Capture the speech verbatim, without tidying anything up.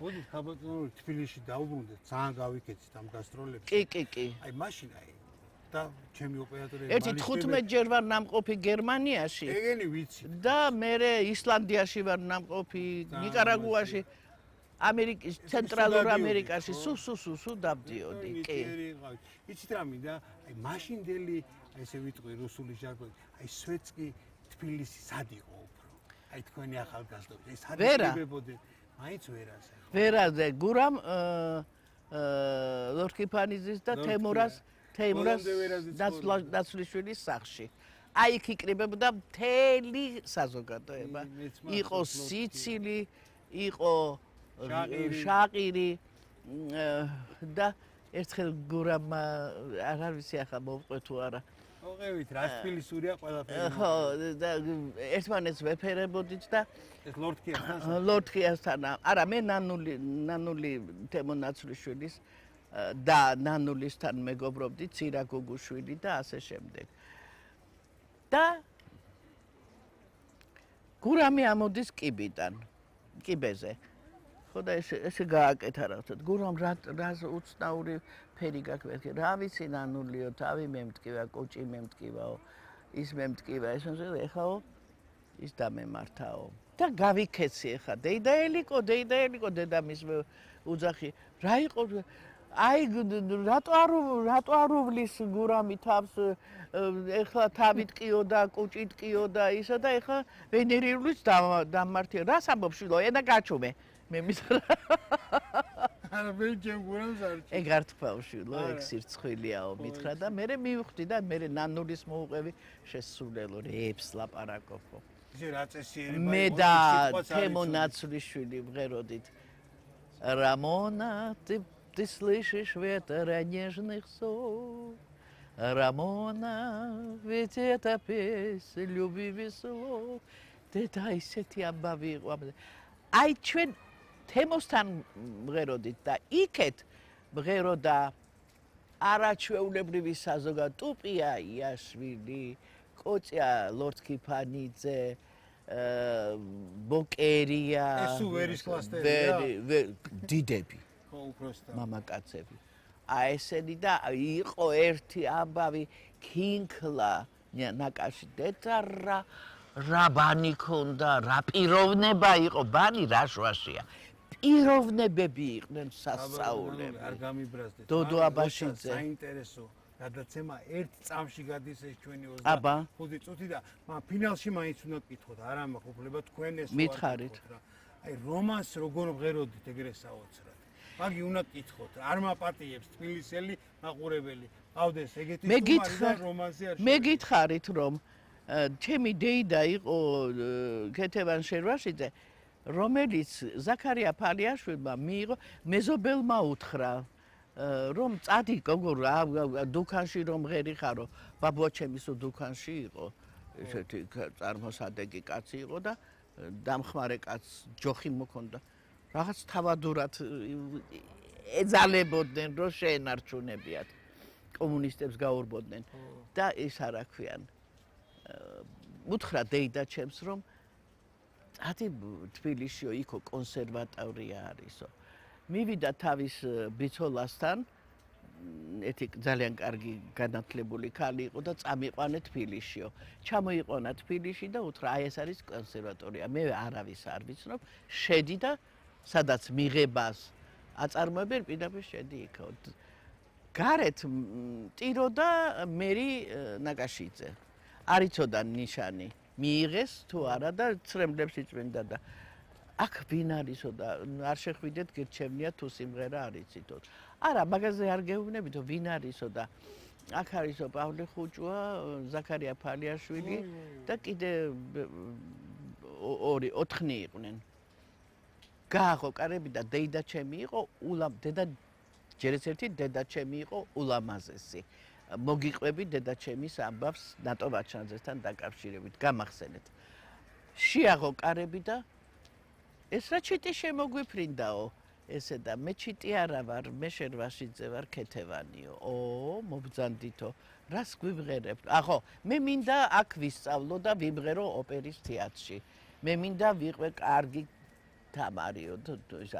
მოდით ხაბატონური თბილისში დაუბრუნდეთ, ძალიან გავიქეცით ამ გასტროლებში. კი, კი, კი. აი მაშინ აი და ჩემი ოპერატორი ერთი თხუთმეტ ჯერ ვარ ნამყოფი გერმანიაში. ეგენი ვიცი. და მე ისლანდიაში ვარ ნამყოფი, ნიკარაგუაში, ამერიკის ცენტრალურ ამერიკაში, სუ სუ სუ სუ დავდიოდი, კი. იცით რა მინდა? აი მაშინდელი, აი ესე ვიტყვი რუსული ჟარგონით, აი სვეტსკი თბილისი სად იყო უფრო? აი თქვენი ახალგაზრდობი, ეს სად იგებებოდნენ? მაინც ვერაზე. ვერაზე, გურამ ლორქიფანიძის და თემურას თემურას დაცვლიშვილის სახლში. აი იქ იკრიბებოდა მთელი საზოგადოება. იყო სიცილი, იყო შაყირი და ერთხელ გურამ არ ვიცი ახლა მოვყვე თუ არა. მოყევით, რა თბილისურია ყველაფერი. ხო, და ერთმანეთს ვეფერებოდით და ეს ლორდქიასთან ლორდქიასთან არა, მე ნანული ნანული თემო ნაცვლიშვილის და ნანულისთან მეგობრობდი, ცირა გუგუშვილი და ასე შემდეგ. და გურამი ამოდის კიბიდან, კიბეზე. ხო და ეს ესე გააკეთა რა ვთქვათ, გურამ რა რა უცნაური ფერი გაქვს, რა ვიცი ნანულიო, თავი მემტკივა, კოჭი მემტკივაო, ის მემტკივა, ეს ეხაო ის დამემართაო. და გავიქეცი ეხა, დეიდაელიკო, დეიდაელიკო, დედამის უძახი, რა იყო აი რატო არ რატო არ უვლის გურამი თავს ეხლა თავით ყიოდა, კუჭით ყიოდა ისა და ეხლა ვენერიულიც დამმართია. რას ამბობ შვილო, ენა გაჩუმე. მე მითხრა. არა მე ჩემ გურამს არ ჩი. ეგ არ თქვა შვილო, ეგ სირცხვილიაო მითხრა და მე მივხვდი და მე ნანულის მოუყევი შესულელო რეებს ლაპარაკობო. ისე რა წესიერი მე და თემო ნაცვლიშვილი ვღეროდით. Рамона, ты ты слышишь ветра нежных слов? Рамона, ведь это песня любви слов. Ты дай сети амбави. Აი ჩვენ თემოსთან მღეროდით და იქეთ მღეროდა არაჩვეულებრივი საზოგადო ტუპია იაშვილი, კოჭია ლორდქიფანიძე, ბოკერია, ეს უვერის კლასტერია. დიდები. ხო, უბრალოდ. მამაკაცები. აი ესენი და იყო ერთი ამბავი ქინქლა ნაკაში დეწარა რა ბანი ქონდა, რა პიროვნება იყო, ბანი რა შვაშია. პიროვნებები იყვნენ სასწაულები. არ გამიბრაზდეთ. დოდო აბაშიძე. საინტერესო გადაცემა ერთ წამში გადის ეს ჩვენი ოცდახუთი წუთი და ფინალში მაინც უნდა გკითხოთ, არა მახუფლება თქვენ ეს მითხარით. აი რომანს როგორ ვღეროდით ეგრე საოცრად. მაგი უნდა გკითხოთ, არ მაპატიებს თბილისელი მაყურებელი. ყავდეს ეგეთი სტუმარი და რომანსი არ. მე გითხარით რომ ჩემი დეიდა იყო ქეთევან შერვაშიძე, რომელიც ზაქარია ფალიაშვილმა მიიღო, მეზობელმა უთხრა, რომ წადი გოგო რა დუქანში რომ ღერი ხარო, ბაბუა ჩემის დუქანში იყო, ესეთი წარმოსადეგი კაცი იყო და დამხმარე კაცს ჯოხი მოქონდა. რაღაც თავადურად ეძალებოდნენ, რომ შეენარჩუნებიათ. კომუნისტებს გაურბოდნენ და ეს არა ქვიან. უთხრა დეიდა ჩემს რომ ათი თბილისშიო იქო კონსერვატორია არისო. მივიდა თავის ბიცოლასთან, ეთი ძალიან კარგი განათლებული ქალი იყო და წამიყვანა თბილისშიო. ჩამოიყვანა თბილისში და უთხრა აი ეს არის კონსერვატორია. მე არავის არ ვიცნობ, შედი და სადაც მიღებას აწარმოებენ პირდაპირ შედი იქო. გარეთ ტირო და მერი ნაკაშიძე. არ იცოდა ნიშანი მიიღეს თუ არა და ცრემლებს იწვენდა და აქ ვინ არისო და არ შეხვიდეთ გირჩევნია თუ სიმღერა არ იცითო. არა, მაგაზე არ გეუბნებითო ვინ არისო და აქ არისო პავლე ხუჭუა, ზაქარია ფალიაშვილი და კიდე ორი ოთხნი იყვნენ. გააღო კარები და დეიდა ჩემი იყო ულამ დედა ჯერეს ერთი დედა ჩემი იყო ულამაზესი. მოგიყვები დედა ჩემის ამბავს ნატო ვაჩანაძესთან დაკავშირებით, გამახსენეთ. შეაღო კარები და ეს რა ჩიტი შემოგვიფრინდაო, ესე და მე ჩიტი არა ვარ, მე შერვაშიძე ვარ ქეთევანიო. ო, მობძანდითო, რას გვიმღერებთ? ახო, მე მინდა აქ ვისწავლო და ვიმღერო ოპერის თეატრში. მე მინდა ვიყვე კარგი თამარიო,